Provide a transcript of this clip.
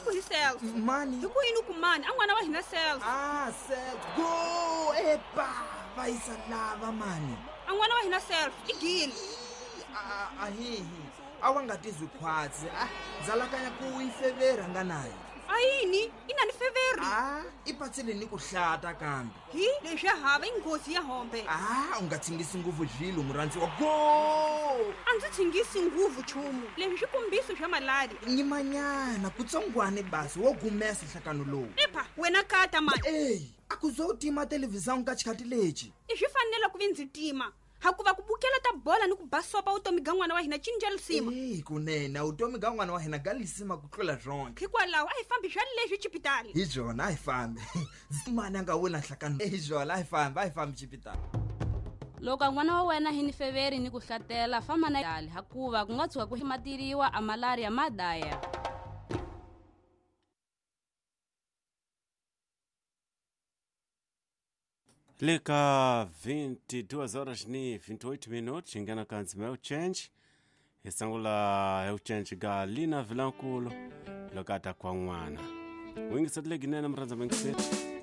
I ku hi Celso. Mani? Hi ku yini ku mani? A n'wana wa hina Celso. Ah, Celso. Go! Epa! Va yisa lava mani. A n'wana wa hina Celso i gile. A hihi. A wa nga tizwi khwatsi. Ah, dzalakanya ku yi fevera nga nayo. A yini? I na ni feveri? Ah, i patsile ni ku hlata kambe. Hi, leswi ya hava i nghozi ya hombe. Ah, u nga tshingisi nguvu zvilo murhandziwa. Go! A ndzi tshingisi nguvu chumu. Leswi swi kombiso swa malaria. Nyimanyana kutsongwane basi wo gumesa nhlakano lowu. Epha, wena kata mani. Eyi, a ku zo tima televhizão ka xikhathi lexi. I swi fanele ku vi ndzi tima. Hakuva ku bukela ta bola ni ku basopa vutomi ga n'wana wa hina cinca lisima. Eyi, kunene vutomi ga n'wana wa hina ga lisima ku tlula swonke. Hikwalaho a hi fambi swa leswi chipitali. Hi byona a hi fambi. Mani a nga wina nhlakano. Hi byona a hi fambi, a hi fambi chipitali. Loko n'wana wa wena hi ni feveri ni ku hlatela, famba na yale hakuva ku nga tshuka ku matiriwa a malaria ma daya. Leka 22 horas ni 28 minutos ingena ka ndzima ya uchenji hi sangula ya uchenji ga Lina Vilankulu loko a ta kwa n'wana wingiseti leginene murhandza mingiseti.